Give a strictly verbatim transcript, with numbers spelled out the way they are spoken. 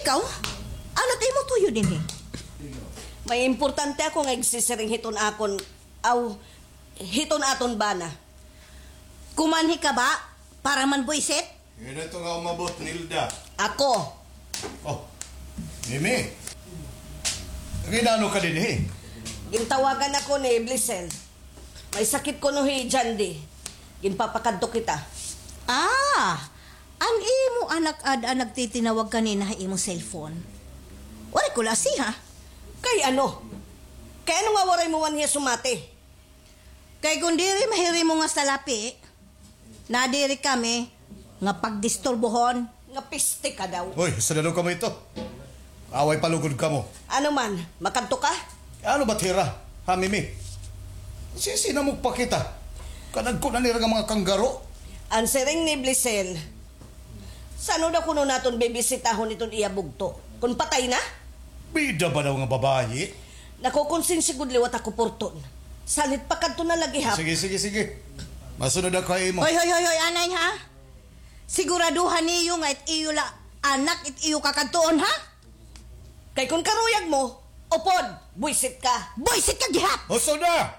Ikaw? Ano it imo tuyo dinhi? May importante ako nga igsisiring hiton akon, aw, hiton aton bana. Kumanhi ka ba? Para man buisit? Hin-o ito nga umabot, Nilda? Ako. Oh, Mimi. Nag-inano ka dinhi? Gintawagan ako ni Blisel. May sakit kuno hi Jandy. Ginpapakadto kita. Ah, an imo anak ada nagtitinawag kanina ha imo cellphone. Waray ko lasi, ha? Kay ano? Kay ano nga waray mo man hiya sumati? Kay kon diri mahirimo nga salapi, nadiri kami nga pagdisturbohon. Nga piste ka daw. Hoy, sadado kamo ito. Away pa lugod kamo. Ano man, makadto ka? Ano ba, Tira? Ha, Mimi? Sisina mo pa kita. Kadagko na nira nga mga kanggaro. An siring ni Blisel, san-o daw kuno naton bibisitahon iton iya bugto? Kon patay na? Bida ba daw nga babayi? Nakukonsensya gud liwat ako, Porton. Salit pa kadto na lagi, ha? Sige, sige, sige. Masunod ako ha imo. Hoy, hoy, hoy, hoy, anay, ha? Siguraduhan niyo nga it iyo la anak, it iyo kakadtuon, ha? Kay kon karuyag mo, upod, buisit ka. Buisit ka gihap! Husto na!